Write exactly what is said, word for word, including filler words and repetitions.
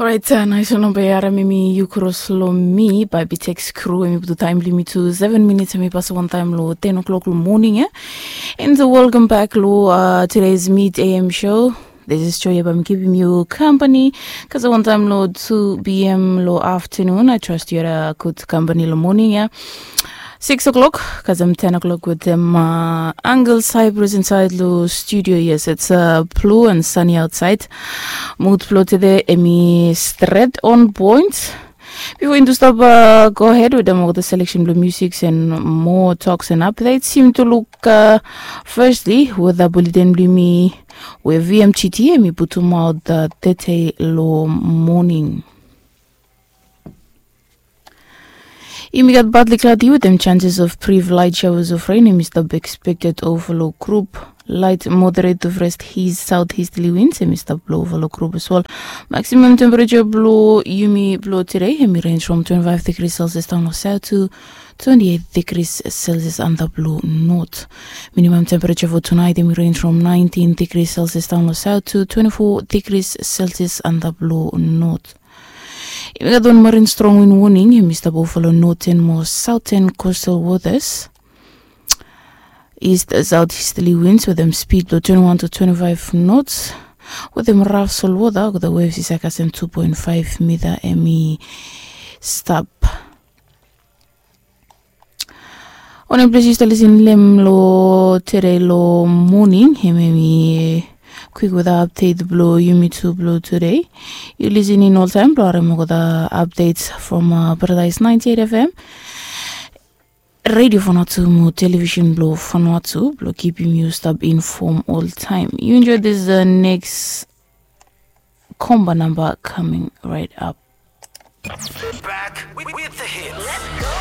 Orait, nais wan namba ya, hemi yu kros long mi bae Bitex Kru. Hemi putum taem blong yumi tu seven minits, hemi pasem wantaem long ten o'clock long moning ya. And welcome back long today's Mid A M show. This is Joy ya bae mi kipim yu kampani kasem wantaem long two P M long afternoon. I trust yu had a good kampani long moning ya. Six o'clock kasem ten o'clock wetem Uncle Cyprus insaed long studio. Yes, it's blue and sunny outside. Mud blong tede hemi stret on point. Bifo yumi tu stap go ahed wetem olgeta seleksen blong musik and moa toks and updates, yumi tu luk firstly weta buleten blong yumi we V M G T hemi putumaot tede long moning. Yumi gat partly cloudy wetem chances of brief light showers of rain hemi stap expected over long group. Light moderate to fast east southeasterly winds hemi stap blong over long group as well. Maximum temperature blong yumi blong tede hemi range from twenty-five degrees Celsius daon long south to twenty-eight degrees Celsius antap long north. Minimum temperature for tonight hemi range from nineteen degrees Celsius daon long south to twenty-four degrees Celsius antap long north. Yumi gat wan marin strong wind warning hemi stap over long northern mo southern coastal waters. East southeasterly winds wetem speed blong twenty-one to twenty-five knots wetem raf solwota olgeta waves i save kasem two point five mita hemi stap. Wanem ples yu stap lisin long hem long tede long moning, hemia hemi kwik weta apdet blong yumi tu blong tede. Yu lisin in oltaem blong harem olgeta apdets from Paradise ninety-eight F M, Radio Vanuatu mo Television blong Vanuatu blong kipim yu stap infom oltaem. Yu enjoy this next Komba namba coming right up. Back with the hits.